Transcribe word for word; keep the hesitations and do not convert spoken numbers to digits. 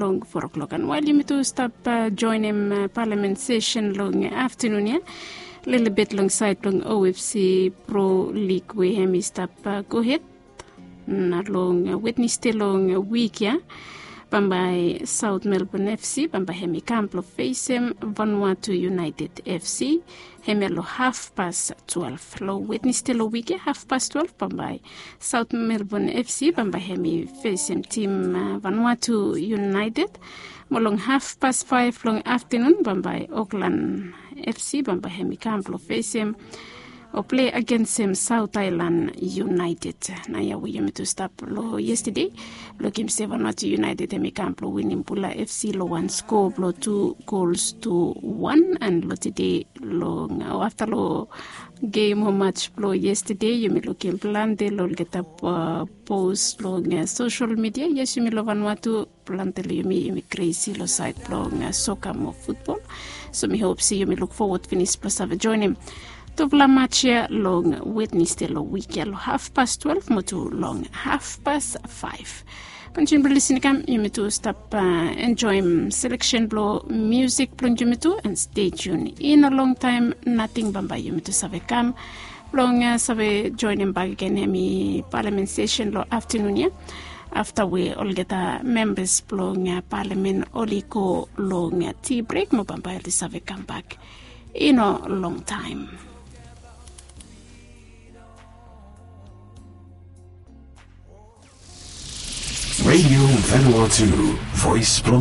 long four o'clock. And wael yumi tu stap joenem palamen sesen long aftanun ya, lelebet long saed blong O F C Pro Lig we hem i stap gohed. Na long Wednesde long wik ya, bambae South Melbourne F C bambae hem i kam blong fesem Vanuatu United F C. Hem ya long hafpas twelve long Wednesde long wik ya, hafpas twelve bambae South Melbourne F C bambae hem i fesem tim Vanuatu United. Mo long hafpas faef long aftanun bambae Auckland F C bambae hem i kam blong fesem o plei agensem South Island United. Na ya we yumi tu stap long yestade, lukim se Vanuatu United hem i kam blong winim Bula F C long wan skoa blong tu gols tu wan. And long tede long o afta long gem o mats blong yestade, yumi lukim plante long olgeta pos long sosel midia. Yes, yumi long Vanuatu plante long yumi yumi kresi long saed blong soka mo futbol. So mi hop se yumi luk fowod finis blong save joenem tufala mats ya long Wednesde long wik ya long hafpas twelve mo tu long hafpas faef. Kontinua blong lisin i kam, yumi tu stap enjoem seleksen blong musik blong yumi tu, and stay tune i no longtaem nating bambae yumi tu save kam blong save joenem bakegen hemi palamen sesen long aftanun ya, afta we olgeta membas blong palamen oli go long ti brek mo bambae oli save kambak i no longtaem. Radio Vanuatu, voice blong